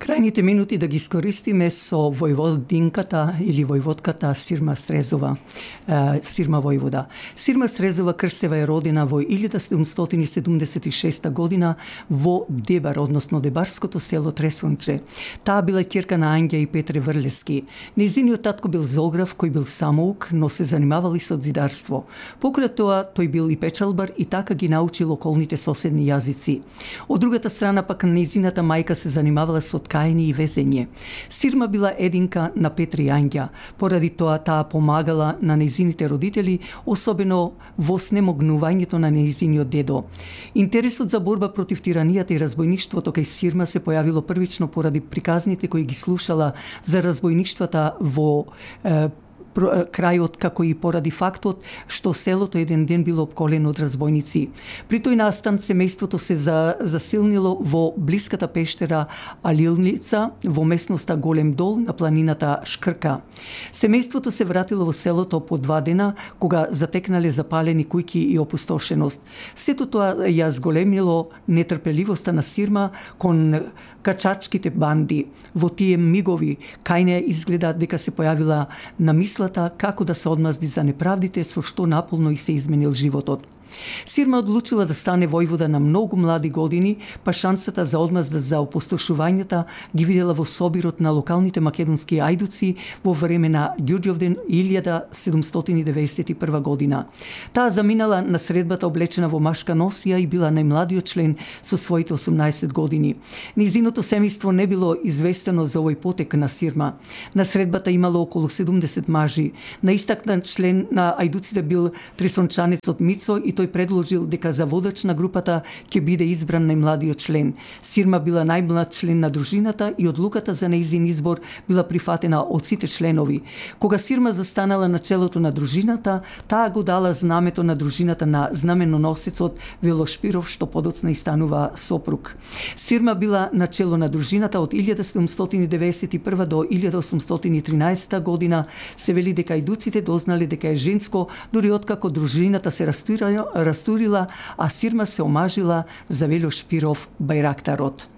Крајните минути да ги искористиме со војводинката или војводката Сирма Стрезова, Сирма војвода. Сирма Стрезова Крстева е родена во 1776 година во Дебар, односно Дебарското село Тресунче. Таа била ќерка на Ангја и Петре Врлески. Нејзиниот татко бил зограф кој бил самоук, но се занимавал и со зидарство. Покрај тоа тој бил и печалбар и така ги научил околните соседни јазици. Од другата страна пак нејзината мајка се занимавала со ткаење и везење. Сирма била единка на Петре и Ангја. Поради тоа таа помагала на нејзините родители, особено во снемогнувањето на нејзиниот дедо. Интересот за борба против тиранијата и разбојништвото кај Сирма се појавило првично поради приказните кои ги слушала за разбојништвата во крајот, како и поради фактот што селото еден ден било опколено од разбојници. При тој настан семејството се засилнило во блиската пештера Алилница, во местноста Голем Дол на планината Шкрка. Семејството се вратило во селото по 2 дена, кога затекнале запалени куќи и опустошеност. Сето тоа ја зголемило нетрпеливоста на Сирма кон качачките банди. Во тие мигови кај неја изгледа дека се појавила на мислата како да се одмазди за неправдите со што наполно и се изменил животот. Сирма одлучила да стане војвода на многу млади години, па шансата за одмазда за опустошувањата ги видела во собирот на локалните македонски ајдуци во време на Ѓурѓовден 1791 година. Таа заминала на средбата облечена во машка носија и била најмладиот член со своите 18 години. Низиното семејство не било известено за овој потек на Сирма. На средбата имало околу 70 мажи. Наистакнат член на ајдуците бил тресончанецот Мицо и тој предложил дека за водач на групата ќе биде избран најмладиот член. Сирма била најмлад член на дружината и одлуката за нејзин избор била прифатена од сите членови. Кога Сирма застанала на челото на дружината, таа го дала знамето на дружината на знаменоносецот Вело Шпиров, што подоцна и станува сопруг. Сирма била на чело на дружината од 1791 до 1813 година. Се вели дека ајдуците дознале дека е женско, дури откако дружината се растурила, а Сирма се омажила за Вело Шпиров бајрактарот.